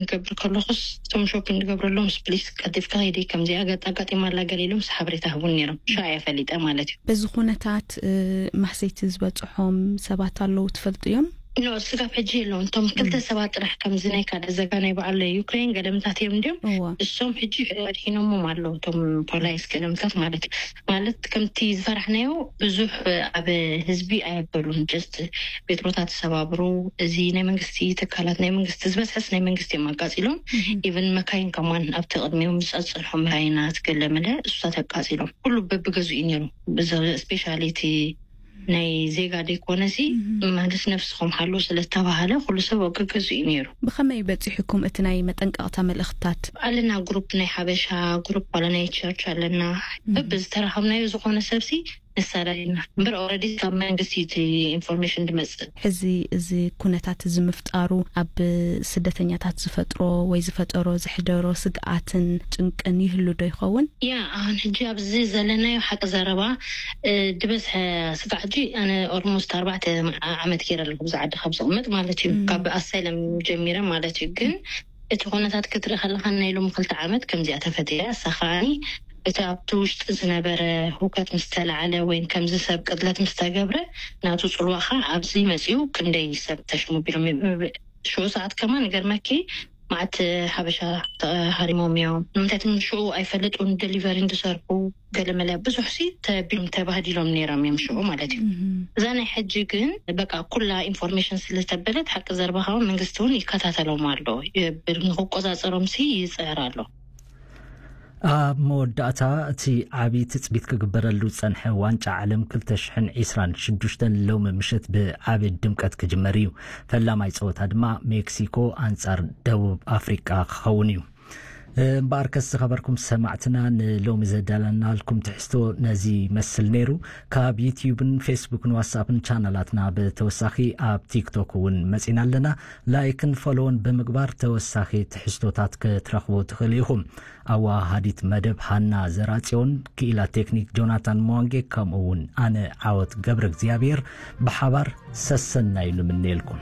ክገብር ከለኹስ እቶም ሾፒንግ ዝገብረሎም ፕሊስ ቀልጢፍካ ሂዲ ከምዚኣ ገጣ ኣጋጢማ ኣላ ገለ ኢሎም ሓበሬታ ህቡን ነይሮም። ሻ እየ ፈሊጠ ማለት እዩ። በዚ ኩነታት ማህሰይቲ ዝበፅሖም ሰባት ኣለዉ ትፈልጡ እዮም? ኖ፣ ስጋብ ሕጂ የለውን። እቶም ክልተ ሰባት ጥራሕ ከምዚ ናይ ካደ ዘጋ ናይ በዓል ዩክሬን ገለምታት እዮም እንዲዮም። እሶም ሕጂ ኣድሒኖሞም ኣለዉ እቶም ፖላይስ ገለምታት ማለት እዩ። ማለት ከምቲ ዝፈራሕናዮ ብዙሕ ኣብ ህዝቢ ኣየበሉን። ጀስት ቤትሮታት ተሰባብሩ፣ እዚ ናይ መንግስቲ ትካላት ናይ መንግስቲ ዝበዝሐስ ናይ መንግስቲ እዮም ኣቃፂሎም። ኢቨን መካይን ከማን ኣብቲ ቅድሚኦም ዝፀፅሑ መካይናት ገለመለ እሱታት ኣቃፂሎም። ኩሉ በብገዙ እዩ ነይሩ። ስፔሻሊቲ ናይ ዜጋ ደይኮነሲ ማለት ነፍስኹም ሓሉ ስለተባሃለ ኩሉ ሰብ ኣብ ገገዙ እዩ ነይሩ። ብኸመይ በፂሑኩም እቲ ናይ መጠንቀቕታ መልእኽትታት? ኣለና ግሩፕ ናይ ሓበሻ ግሩፕ ዋላ ናይ ቸርች ኣለና። በብዝተረኸብናዮ ዝኾነ ሰብሲ ንሳዳድና እምበር ኦረዲ ካብ መንግስቲ እቲ ኢንፎርሜሽን ድመፅእ። ሕዚ እዚ ኩነታት እዚ ምፍጣሩ ኣብ ስደተኛታት ዝፈጥሮ ወይ ዝፈጠሮ ዘሕደሮ ስግኣትን ጭንቅን ይህሉ ዶ ይኸውን? ያ ኣሁን ሕጂ ኣብዚ ዘለናዮ ሓቂ ዘረባ ድበዝሐ ስጋዕ ሕጂ ኣነ ኦልሞስት ኣርባዕተ ዓመት ገይረ ኣለኹ ብዛ ዓዲ ካብ ዝቕመጥ ማለት እዩ። ካብ ኣሳይለም ጀሚረ ማለት እዩ። ግን እቲ ኩነታት ክትርኢ ከለካ ናይ ሎሚ ክልተ ዓመት ከምዚኣ ተፈጢረ እሳ ከዓኒ እቲ ኣብቲ ውሽጢ ዝነበረ ሁከት ምስ ተላዓለ ወይ ከምዚ ሰብ ቅትለት ምስ ተገብረ ናቱ ፅልዋ ከዓ ኣብዚ መፅኡ ክንደይ ሰብ ተሽሙ ቢሎም ሽዑ ሰዓት ከማን ገርመኪ ማዓት ሓበሻ ተሃሪሞም እዮም። ንምንታይ ሽዑ ኣይፈልጡን ደሊቨሪ ዝሰርሑ ገለመለ ብዙሕ ሲ ተቢም ተባህዲሎም ነይሮም እዮም ሽዑ ማለት እዩ። እዛ ናይ ሕጂ ግን በቃ ኩላ ኢንፎርሜሽን ስለተበለት ሓቂ ዘርባኻዊ መንግስቲ እውን ይከታተሎም ኣሎ ይብል ንክቆፃፀሮም ሲ ይፅዕር ኣሎ። ኣብ መወዳእታ እቲ ዓቢ ትጽቢት ክግበረሉ ዝጸንሐ ዋንጫ ዓለም ክልተ ሽሕን ዕስራን ሽዱሽተን ሎሚ ምሸት ብዓቢ ድምቀት ክጅመር እዩ። ፈላማይ ጸወታ ድማ ሜክሲኮ ኣንጻር ደቡብ ኣፍሪቃ ክኸውን እዩ። እምበኣርከስ ዝኸበርኩም ሰማዕትና ንሎሚ ዘዳለናልኩም ትሕዝቶ ነዚ ይመስል ነይሩ። ካብ ዩትዩብን ፌስቡክን ዋትስኣፕን ቻናላትና ብተወሳኺ ኣብ ቲክቶክ እውን መጺና ኣለና። ላይክን ፎሎውን ብምግባር ተወሳኺ ትሕዝቶታት ክትረኽቡ ትኽእሉ ኢኹም። ኣወሃሃዲት መደብ ሃና ዘራጽዮን ክኢላ ቴክኒክ ጆናታን መዋንጌ ከምኡ እውን ኣነ ዓወት ገብረ እግዚኣብሔር ብሓባር ሰሰናዩ ንምነየልኩም።